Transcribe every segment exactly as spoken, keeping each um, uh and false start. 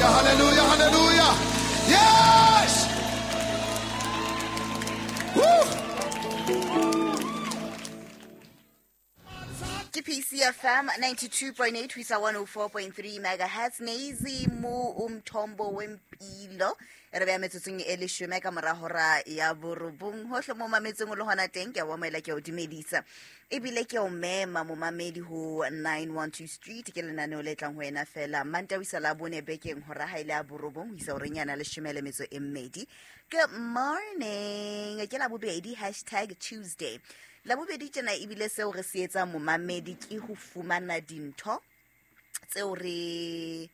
Hallelujah, hallelujah. Yes! Woo! Ke P C F M ninety-two point eight ho isa one oh four point three megahertz. Neizimu umthombo wempilo. Re beya metsotsong e leshome ka mora hora ya borobong. Hohle mo mametseng o le hona teng, ke a o amohela, ke a o dumedisa. Ebile ke o mema momamedi ho nine one two Street, ke lenaneo le tlang ho wena fela Mantaha ho isa Labone bekeng hora ha ile ya borobong ho isa horeng yana leshome le metso e mmedi. Good morning. Ke Labobedi, hashtag Tuesday. Labobedi tjena ebile seo re se etsang momamedi ke ho fumana dintho tseo re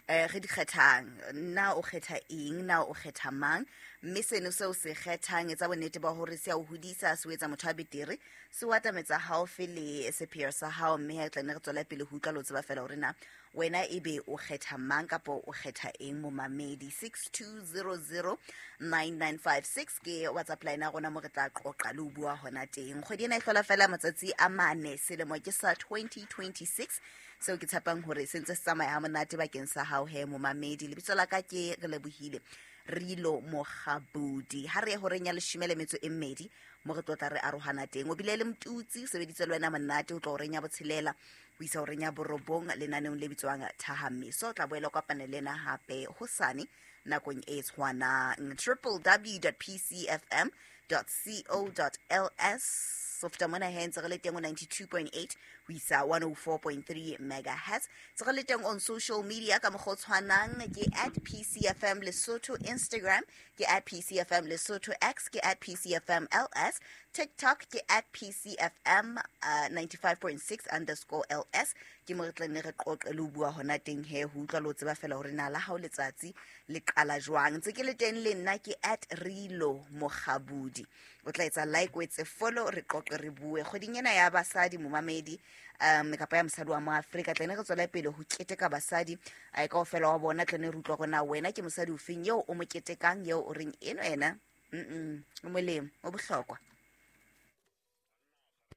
eh re di kgethang. Na o kgetha eng, na o kgetha mang, mme seno seo se kgethang etsa bonnete ba hore se a o hodisa, se o etsa motho a betere, se o atametsa haufi le sepheo sa hao, mme ha e tla nne re tswela pele ho utlwa le ho tseba fela hore na wena ebe o kgetha mang kapa o kgetha eng momamedi. Six two zero zero nine nine five six ke WhatsApp line ya rona mo re tla qoqa le ho bua hona teng. Kgwedi ena e hlola fela matsatsi a mane, selemo ke sa twenty twenty-six, seo ke tshepang hore se ntse se tsamaya ha monate bakeng sa hao he momamedi. Lebitso la ka ke Relebohile Rilo Mokgabudi. Ha re ye horeng ya leshome le metso e mmedi mo re tlotla re arohana teng. O bile le Mtutsi, o sebeditse le wena monate ho tloha horeng ya botshelela ho isa horeng ya borobong lenaneong le bitswang Thahamiso. O tla boela o kopane le nna hape hosane nakong e tshwanang. triple w dot p c f m dot co dot l s. So feta mona he ntse re le teng ho ninety-two point eight ho isa one oh four point three megahertz. Ntse re le teng on social media ka mokgwa o tshwanang, ke at P C F M Lesotho Instagram, ke at P C F M Lesotho X, ke at P C F M L S, TikTok ke at P C F M, uh, ninety-five point six underscore L S. Ke mo re tla nne re qoqe le ho bua hona teng he, ho utlwa le ho tseba fela hore na la hao letsatsi le qala jwang. Ntse ke le teng le nna ke at Rilo Mokgabudi. O tla etsa like, o etse follow, re qoqe re bue. Kgweding ena ya basadi momamedi, um kapa ya mosadi wa mo Afrika, tla nne re tswele pele ho keteka basadi, ai kaofela wa bona. Tla nne re utlwa hore na wena ke mosadi ofeng eo o mo ketekang, eo o reng eno ena, mm-mm, o molemo, o bohlokwa.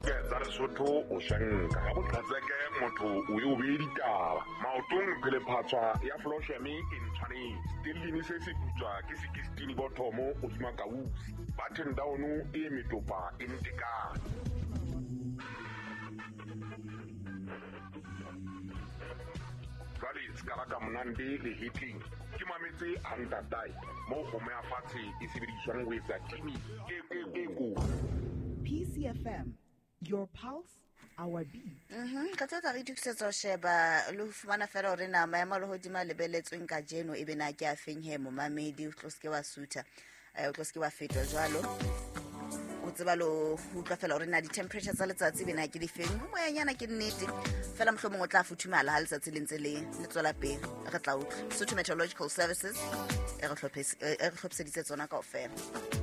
Tsa Lesotho o shanka ka boqhetseke motho o e o beye ditaba maotong phelephatswa ya flosheme e ntshwanetse stellini se se putswa ke sixteen bottomo hodima kausi button down e metopa e ntekane. Jwale se ka monande le hitling ke mametse a ntatae mo kgomo ya fatshe e sebediswang ho etsa timi e e ko. P C F M, your pulse, our beat. Mhm, ka tsatsa re itokisetsa ho sheba le ho fumana fela hore na maemo a lehodimo a lebelletsweng kajeno ebe na ke a feng he momamedi, o tlo se ke wa sutha, eh, o tlo se ke wa fetwa jwalo. O tseba le ho utlwa fela hore na di-temperature tsa letsatsi ebe na ke difeng. Ho moyanyana ke nnete fela, mohlomong o tla futhumala ha letsatsi le ntse le, le tswela pele. Re tla utlwa Sotho Meteorological Services e re hlophes-, e re hlophiseditse tsona kaofela.